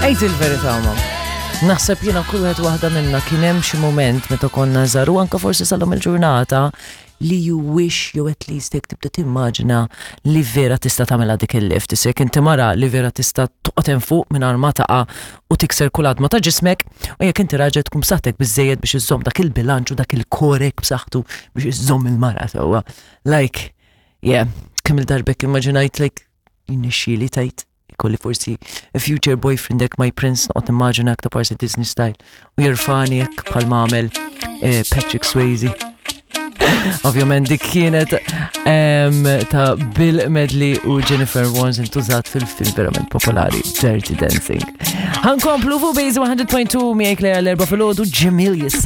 Ejt il-verità ma. Naħseb jiena kull wieħed waħda minna kien hemm xi mument meta konna żgħar u anke forsi salhom il-ġurnata li you wish jew at least jekk tibda timmaġina li vera tista' tagħmilha dik il-lift. Issa jekk inti mara li vera tista' toqgħod hemm fuq mingħajr ma taqa' u tikser kull għadma ta' ġismek u jekk inti raġel tkun b'saħħtek biżejjed biex iżżomm dak il-bilanċ u dak il-korek b'saħħtu biex iżżomm il-mara sewwa. Like, yeah, kemm il-darbek immaġinajt like jinnexxieli tajt ikolli forsi a future boyfriend hekk my prince noqgħod nimmaġina aktar parsi Disney style u jirfani hekk bħal għamel eh, Patrick Swayze. Ovvjament dik kienet ta' Bill Medley u Jennifer Warnes intużat fil-film verament popolari Dirty Dancing. Ħankomplu fuq Base 100.2 miegħek Lea l-erba' filgħodu ġemil jissa.